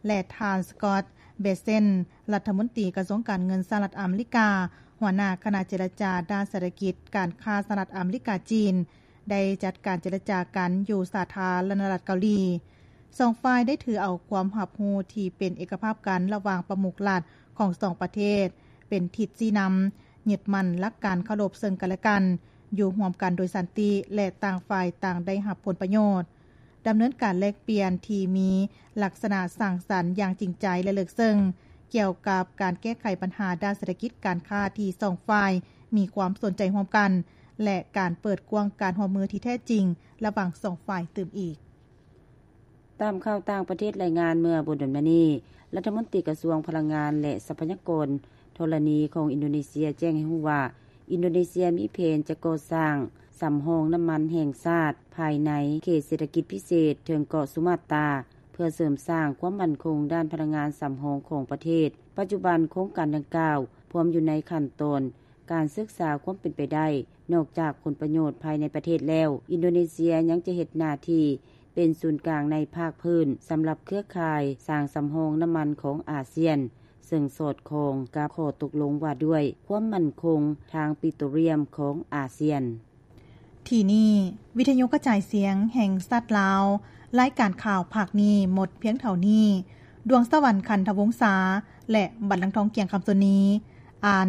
ແລະ ທ່ານ ສະກອດ ເບເຊັນ ລັດຖະມົນຕີກະຊວງການເງິນສະຫະລັດອາເມລິກາ, ຫົວໜ້າຄະນະເຈລະຈາດ້ານເສດຖະກິດ, ການຄ້າ ສະຫະລັດອາເມລິກາ-ຈີນ ໄດ້ຈັດການເຈລະຈາກັນຢູ່ສາທາລະນະລັດເກົາຫຼີ. ສອງຝ່າຍໄດ້ຖືເອົາຄວາມຮັບຮູ້ທີ່ເປັນເອກະພາບກັນລະຫວ່າງປະມຸກລັດຂອງສອງປະເທດ ເປັນທິດຊີ້ນຳ, ຍຶດໝັ້ນຫຼັກການເຄົາລົບເຊິ່ງກັນແລະກັນ, ຢູ່ຮ່ວມກັນໂດຍສັນຕິ ແລະ ຕ່າງຝ່າຍຕ່າງໄດ້ຮັບຜົນປະໂຫຍດ. ດຳເນີນການແລກປ່ຽນທີ່ມີລັກສະນະສ້າງສັນຢ່າງຈິງໃຈ ແລະ ເລິກເຊິ່ງ ກ່ຽວກັບການແກ້ໄຂບັນຫາດ້ານເສດຖະກິດການຄ້າທີ່ສອງຝ່າຍມີຄວາມສົນໃຈຮ່ວມກັນ ແລະ ການເປີດກວ້າງການຮ່ວມມືທີ່ແທ້ຈິງລະຫວ່າງສອງຝ່າຍຕື່ມອີກ. ຕາມຂ່າວຕ່າງປະເທດລາຍງານເມື່ອບໍ່ດົນມານີ້, ລັດຖະມົນຕີກະຊວງພະລັງງານ ແລະ ຊັບພະຍາກອນທໍລະນີຂອງອິນໂດເນເຊຍແຈ້ງໃຫ້ຮູ້ວ່າ, ອິນໂດເນເຊຍມີແຜນຈະກໍ່ສ້າງສຳຮອງນ້ຳມັນແຫ່ງຊາດພາຍໃນເຂດເສດຖະກິດພິເສດເທິງເກາະສຸມາດຕາ ເພື່ອເສີມສ້າງຄວາມໝັ້ນຄົງດ້ານພະລັງງານສຳຮອງຂອງປະເທດ. ປັດຈຸບັນໂຄງການດັ່ງກ່າວພວມຢູ່ໃນຂັ້ນຕອນ ການສຶກສາຄວາມເປັນໄປໄດ້. ນອກຈາກຜົນປະໂຫຍດພາຍໃນປະເທດແລ້ວ, ອິນໂດເນເຊຍຍັງຈະເຮັດໜ້າທີ່ເປັນສູນກາງໃນພາກພື້ນສຳລັບເຄືອຂ່າຍສ້າງສຳຮອງນ້ຳມັນຂອງອາຊຽນ, ເຊິ່ງສອດຄ່ອງກັບຂໍ້ຕົກລົງວ່າດ້ວຍຄວາມໝັ້ນຄົງທາງປິໂຕຣລຽມຂອງອາຊຽນ. ທີ່ນີ້ ວິທະຍຸກະຈາຍສຽງແຫ່ງຊາດລາວ, ລາຍການຂ່າວພາກນີ້ໝົດພຽງເທົ່ານີ້. ດວງສະຫວັນ ຄັນທະວົງສາ ແລະ ບັນລັງທອງ ກຽງຄຳ ສຸນີ ອ່ານ.